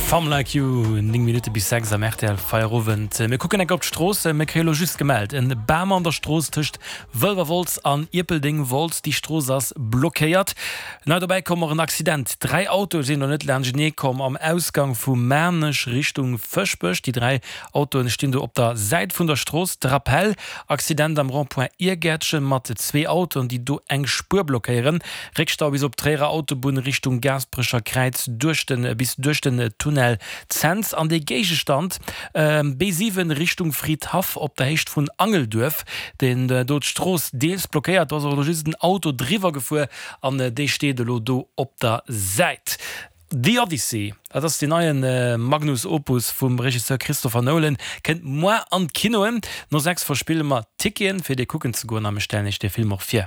Some Like You, 9 Minutte bis 6 am rtl Feierowend. Mir kucken enk op d'Stroossen. Mir kréie lo just gemellt, en Bam an der Strooss tëscht Wëlwerwolz an Ierpeldeng-Wolz. Déi Strooss ass blockéiert. Nei dobäi komm och en Accident. 3 Autoe sinn do net laanschtenee komm am Ausgang vu Maarnech Richtung Fëschbech. Déi 3 Autoen stinn do op der Säit vun der Strooss. De Rappel, Accident am Rond-point Iergäertchen mat zwee Autoen, déi do eng Spuer blockéieren. Réckstau bis op d'Tréierer Autobunn Richtung Gaasperecher Kräiz duerch de bis duerch den Tunnel Cents. An dee Géigestand B7 Richtung Fridhaff op der Héicht vun Angelduerf, deen do d'Strooss deels blockéiert. Do ass och elo just en Auto driwwer gefuer an dee steet elo do op der Säit. The Odyssey, dat ass deen neie Magnus Opus vum Regisseur Christopher Nolan, kënnt moar an d'Kinoen. No 6 verspille mer Ticketen, fir dee kucken ze goen a mir stellen iech dee Film och vir.